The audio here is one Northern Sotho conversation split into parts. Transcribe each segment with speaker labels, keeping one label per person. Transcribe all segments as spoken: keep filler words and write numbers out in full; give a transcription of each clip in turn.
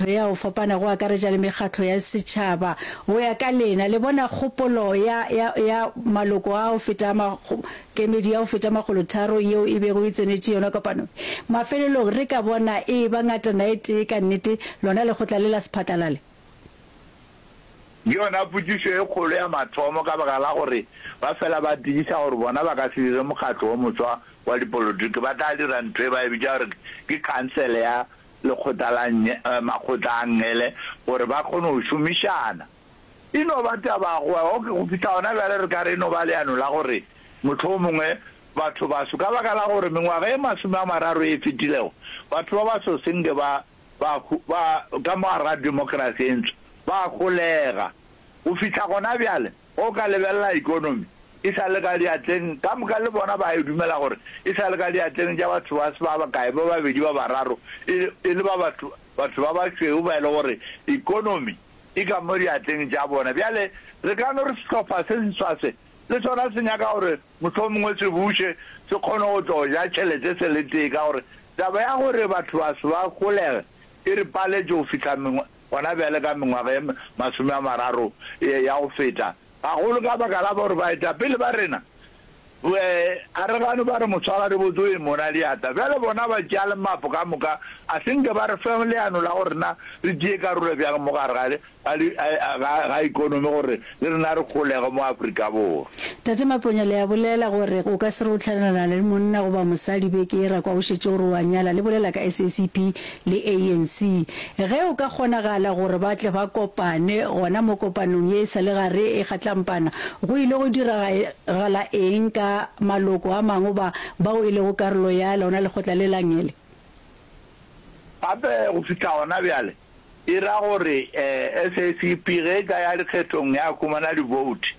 Speaker 1: mekgatlo ya go fapana go akaretša le mekgatlo ya setšhaba. Go ya ka lena, le bona kgopolo ya, ya, ya maloko a go feta a kemedi ya go feta makgolotharo yeo e bego e tsenetše yona kopano? Mafelelong re ka bona e eba ngatana e tee ka nnete lona lekgotla le la Sephatlalale?
Speaker 2: Ke yona potšišo e kgolo ya mathomo ka baka la gore ba fela ba tiiša gore bona ba ka se dire mokgatlo wo moswa wa dipolotiki, ba tla dira ntho e ba e bitša gore ke khansele ya lekgotla la makgotla a nngele gore ba kgone go šomišana. E no ba taba go okay, go fihla gona bjale re ka re e no ba leano la gore mohlomongwe batho baso ka baka la gore mengwaga e masome a mararo e fetilego batho ba baso senke ba ba ba ka mo gare ga demokrasi e ntsho ba golega. Go fihla gona bjale o ka lebelela economy e sa le ka diatleng ka moka, le bona ba e dumela gore e sa le ka diatleng tša batho ba se ba bakae, ba babedi, ba bararo, e e le ba batho batho ba bašweu ba e le gore economy e ka mo diatleng tša bona. Bjale re ka no re sehlopha se seswa se le sona se nyaka gore mohlomongwe se buše, se kgone go tlo ja tšhelete se le tee, ka gore taba ya gore batho ba se ba golege e re paletše go fihla gona bjale ka mengwaga e masome a mararo ya go feta, gagolo ka baka la gore baetapele ba rena a re gane ba re motshwara re botse o e mona diatla. Bjale bona ba tšea lemapo ka moka, a se nke ba re fe leano la gore na re tšee karolo bjang mo gare ga ikonomi gore le rena re kgolege mo Afrika Borwa.
Speaker 1: Tate Maponya, le a bolela gore o ka se re o tlhanelana le monna goba mosadi beke e ra kwa o šetše gore o a nyala. Le bolela ka S A C P le A N C. Ge o ka kgonagala gore ba tle ba kopane gona mo kopanong ye e sa le gare e kgatlampana, go ile go diragala eng ka maloko a mangwe ba bao e lego karolo ya lona lekgotla le la nngele?
Speaker 2: Gape go fihla gona bjale e ra gore um S A C P ge e ka ya dikgethong ya humana di-vote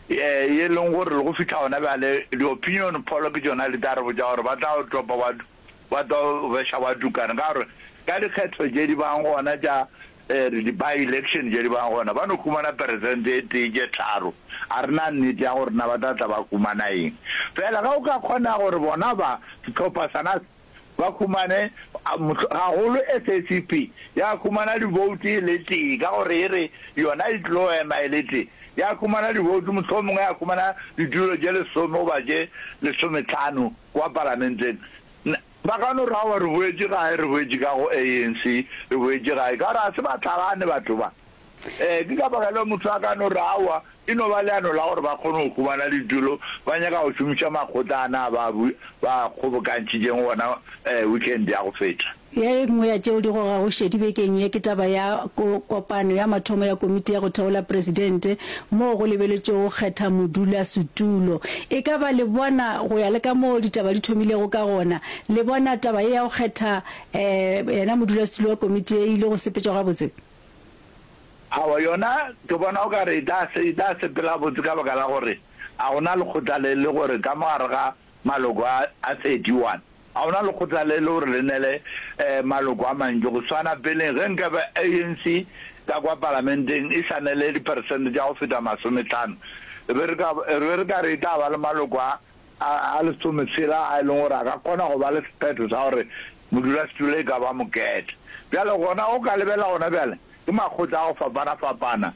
Speaker 2: um ye leng gore le go fihla gona bjale di-opinion poll ke tšona di tla re botša gore ba tla topa ba tlo beša ba tukana, ka gore ka dikgetho tše di bang gona tša di-by election tše di bang gona ba no humana peresente e tee tše tharo. A re na nnete ya gore na ba tla tla ba humana eng. Fela ge o ka kgona gore bona ba sehlopha sana ba humane gagolo S A C P ya humana di-vote e le tee, ka gore e re yona e tlo ema e le tee, ya humana di-vote, mohlomongwe ya humana ditulo tše lesome goba tše lesometlhano kwa palamenteng, ba ka no ra re boetše gae, re boetše ka go A N C, re boetše gae, ka gore a se ba tlhalane batho ba. um ke ka baka leo motho a ka no re aowa, e no ba leano la gore ba kgone go humana ditulo, ba nyaka go šomiša makgotla ana ba ba kgobokantšhitšeng gona um weekend ya go feta.
Speaker 1: Ye nngwe ya tšeo di gogago šedi bekeng ye ke taba ya kopano ya mathomo ya komiti ya go theola presidente moo go lebeletšego go kgetha modulasetulo. E ka ba le bona go ya le ka moo ditaba di thomilego ka gona, le bona taba ye ya go kgetha um yena modulasetulo wa komiti ye e ile go sepetšwa gabotse?
Speaker 2: Aowa, yona ke bona o ka re e tla e tla sepela botse ka baka la gore a gona lekgotla le le gore ka mo gare ga maloko a a thirty-one a gona lekgotla le le gore le nele um maloko a mantši go swana peleng ge nkabe A N C ka kwa palamenteng e sa nele diperesente tša go feta masometlhano, be re ka be re ka re e tla ba le maloko a a lesometshela a e leng gore a ka kgona go ba le sephetho sa gore modulasetulo e ka ba mokete. Bjale gona o ka lebelela gona bjale ke makgotla a go fapana-fapana.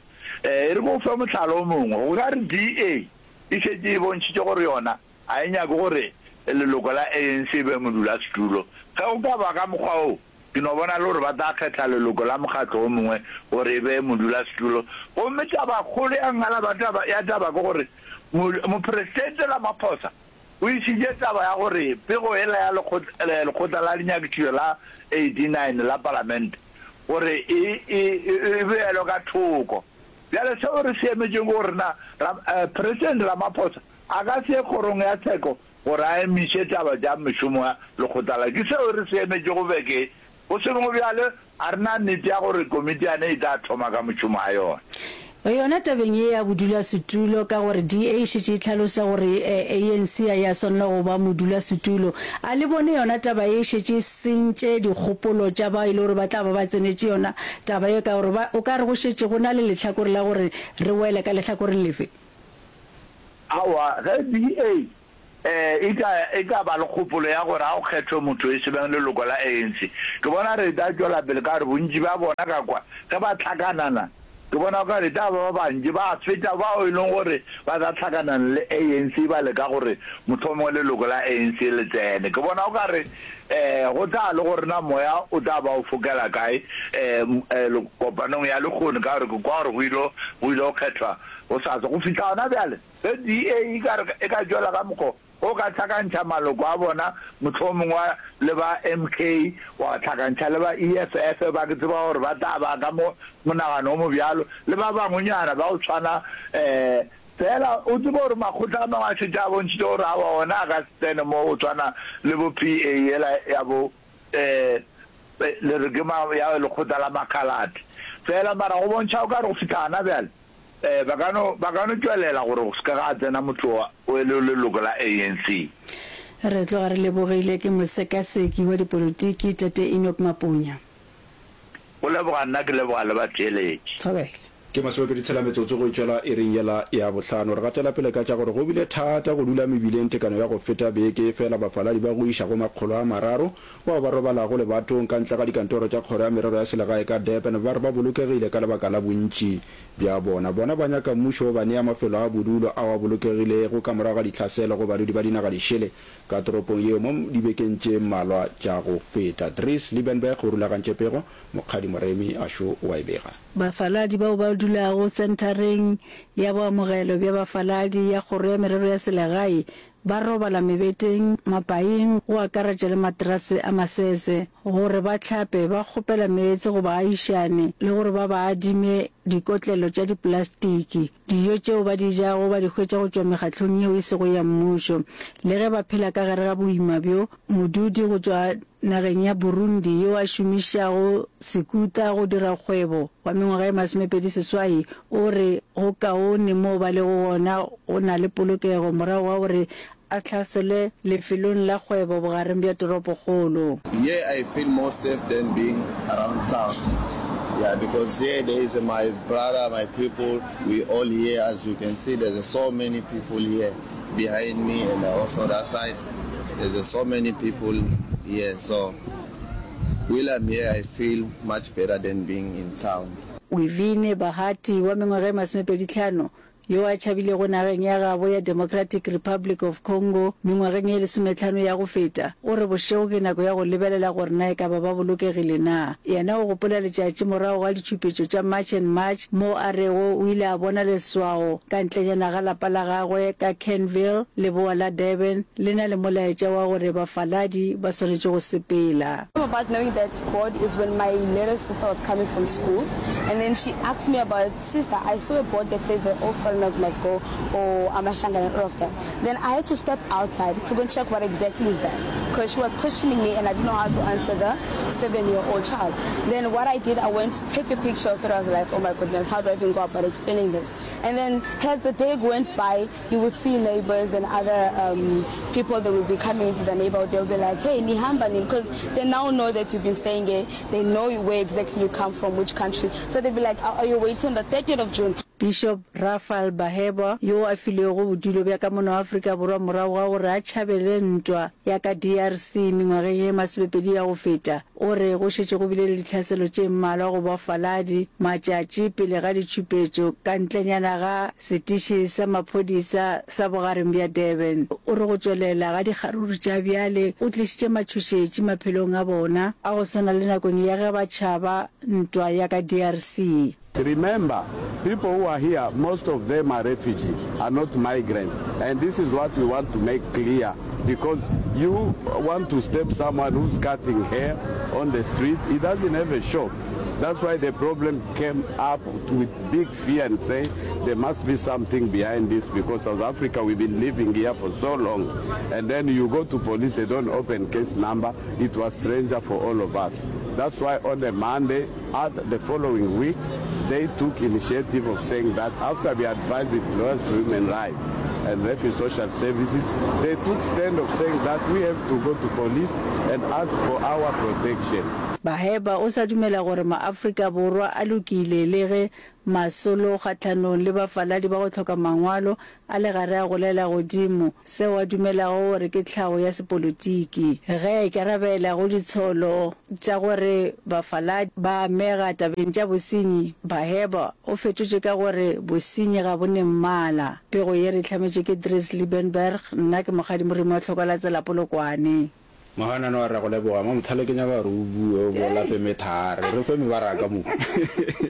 Speaker 2: um e re ko fe mohlala o mongwe, go ka re D A e šetše e bontšhitše gore yona a e nyake gore leloko la A N C e be modulasetulo. Ge go ka ba ka mokgwa o, ke no bona le gore ba tla kgetha leloko la mokgatlo o mongwe gore e be modulasetulo. Gomme tabakgolo ya ngala ba taba ya taba ke gore mopresidente Ramaphosa o išitše taba ya gore pego ela ya lekgotla la dinyakišišo la eighty-nine la palamente gore e e beelwe ka thoko. Bjale seo re se emetšeng ke gore na President Ramaphosa a ka se ye kgorong ya tsheko gore a emiše taba tša mešomo ya lekgotla la. Ke seo re se emetšego beke. Go sengwe bjale a re na nnete ya gore komiti yane e tla thoma ka mošomo a yona.
Speaker 1: Yona tabeng ye ya bodulasetulo, ka gore D A e šetše e hlalosa gore A N C a ya swanela go ba modulasetulo, a le bone yona taba ye e šetše e sentše dikgopolo tša ba e le gore ba tla ba ba tsenetše yona taba ye, ka gore ba o ka re go šetše go na le lehlakore la gore re wele ka lehlakoreng lefe?
Speaker 2: Aowa, ge D A e ka, e ka ba le kgopolo ya gore a go kgethwe motho e se beng leloko la A N C, ke bona re tla tšwela pele ka gore bontši bja bona ka kwa ge ba hlakanana, ke bona o ka re e tla ba ba bantši ba feta bao e leng gore ba tla hlakanana le A N C ba leka gore mohlomongwe leloko la A N C le tsene. Ke bona o ka re um go tla le gore na moya o tla ba o fokela kae um kopanong ya lehono, ka gore ke kwa gore go ile go ile go kgethwa gosasa. Go fihla gona bjale, ge D A e ka re e ka tšwela ka mokgwa o ka hlakantšha maloko a bona, mohlomongwe le ba M K, wa hlakantšha le ba E F F, ba ke tseba gore ba tla ba ka mo monagano o mobjalo, le ba bangwenyana ba go tshwana, um fela o tsebe gore makgotla a mangwe a šetše a bontšhitše gore aowa ona a ka se tsene mo go tshwana le bo P A yela ya bo, um le re ke ma, ya lekgotla la Makhalate. Fela mara go bontšha o ka re go fihla gana bjale, um ba ka no, ba ka no tšwelela gore go se ke ga tsena motho wa, o e le leloko la A N C.
Speaker 1: Re tloga re lebogile ke mosekaseki wa dipolotiki Tate Enoch Maponya.
Speaker 2: Go leboga nna, ke leboga le batheeletši.
Speaker 1: Thobela.
Speaker 3: Ke masomepedi tshela metsotso go itšwela iring yela ya bohlano. Re gatela pele ka tša gore go bile thata go dula mebileng tekano ya go feta beke, efela bafaladi ba go iša go makgolo a mararo bao ba robalago lebatong ka ntle ga dikantoro tša Kgoro ya Merero ya Selegae ka Durban ba re ba bolokegile ka lebaka la bontši bja bona. Bona ba nyaka mmušo o ba nea mafelo a bodulo ao a bolokegilego ka morago ga ditlhaselo go badudi ba dinaga dišele ka toropong yeo mo dibekeng tše mmalwa tša go feta. Dries Liebenberg o rulagantše pego, Mokgadi Moremi a šo o a e bega.
Speaker 1: Bafaladi bao ba dulago senthareng ya boamogelo bja bafaladi ya Kgoro ya Merero ya Selegae ba robala mebeteng, mapaing, go akaretša le materase a masese, gore ba hlape, ba kgopela meetse go baagišani le gore ba ba adime dikotlelo tša diplastiki. Dijo tšeo ba di jago ba di hwetša go tšwa mekgahlong yeo e sego ya mmušo. Le ge ba phela ka gare ga boima bjo, modudi go tšwa nageng ya Burundi yo a šomišago sekuta go dira kgwebo wa mengwaga e masomepedi seswai o re go kaone moo ba lego gona go na le polokego morago ga gore a hlaselwe lefelong la kgwebo bogareng bja toropokgolo.
Speaker 4: Here I feel more safe than being around town, yeah, because here there is my brother, my people, we all here, as you can see there's so many people here behind me and also that side there's so many people here, so while I'm here I feel much better than being in town.
Speaker 1: Wivine Bahati wa mengwaga e masomepedi hlano yo a tšhabilego nageng ya gabo ya Democratic Republic of Congo mengwageng ye lesomehlano ya go feta, o re bošego ke nako ya go lebelela gore na e ka ba ba bolokegile na. Yena o gopola letšatši morago ga ditšhupetšo tša March and March moo a rego o ile a bona leswao ka ntlenyana ga lapa la gagwe ka Kenville, leboa la Durban, le na le molaetša wa gore bafaladi ba swanetše go sepela.
Speaker 5: About knowing that board is when my little sister was coming from school, and then she asked me about, sister, I saw a board that says that all foreigners must go, or Amashanga and all of that. Then I had to step outside to go and check what exactly is that, because she was questioning me and I didn't know how to answer the seven-year-old child. Then what I did, I went to take a picture of it. I was like, oh my goodness, how do I even go about explaining this? And then as the day went by, you would see neighbors and other, um, people that will be coming into the neighborhood. They'll be like, hey, nihamba nini, because they now know that you've been staying here. They know where exactly you come from, which country. So they'll be like, are you waiting on the thirtieth of June?
Speaker 1: Bishop Raphael Baheba, yo a filwego bodulo bja ka mono Afrika Borwa morago ga gore a tšhabele ntwa ya ka D R C mengwageng ye masomepedi ya go feta, o re go šetše go bile le ditlhaselo tše mmalwa go bafaladi matšatši pele ga ditšhupetšo ka ntlenyana ga setiši sa maphodisa sa bogareng bja Durban. O re go tšwelela ga dikgaruru tša bjale go tlišitše matšhošetši maphelong a bona a go swana le nakong ya ge ba tšhaba ntwa ya ka D R C.
Speaker 6: Remember, people who are here, most of them are refugee, are not migrant. And this is what we want to make clear, because you want to step someone who's cutting hair on the street, he doesn't have a shop. That's why the problem came up with big fear and say there must be something behind this, because South Africa, we've been living here for so long. And then you go to police, they don't open case number. It was stranger for all of us. That's why on the Monday, at the following week, they took initiative of saying that after we advised the Lawyers for Human Rights and Refugee Social Services, they took stand of saying that we have to go to police and ask for our protection.
Speaker 1: Baheba o sa dumela gore maAfrika Borwa a lokile le ge masolo kgahlanong le bafaladi ba go hloka mangwalo a le gare a golela godimo, seo a dumelago gore ke tlhago ya sepolotiki. Ge a ikarabela go ditsholo tša gore bafaladi ba amega tabeng tša bosenyi, Baheba o fetotše ka gore bosenyi ga bo ne mmala. Pego ye re e hlametšwe ke Dries Liebenberg, nna ke Mokgadi Moremi wa Tlhokalatsela Polokwane.
Speaker 3: Mohanano a re a go leboga. Mamothale ke nyaka gore o bue o bo lape methare. Re fe mebaraka mo.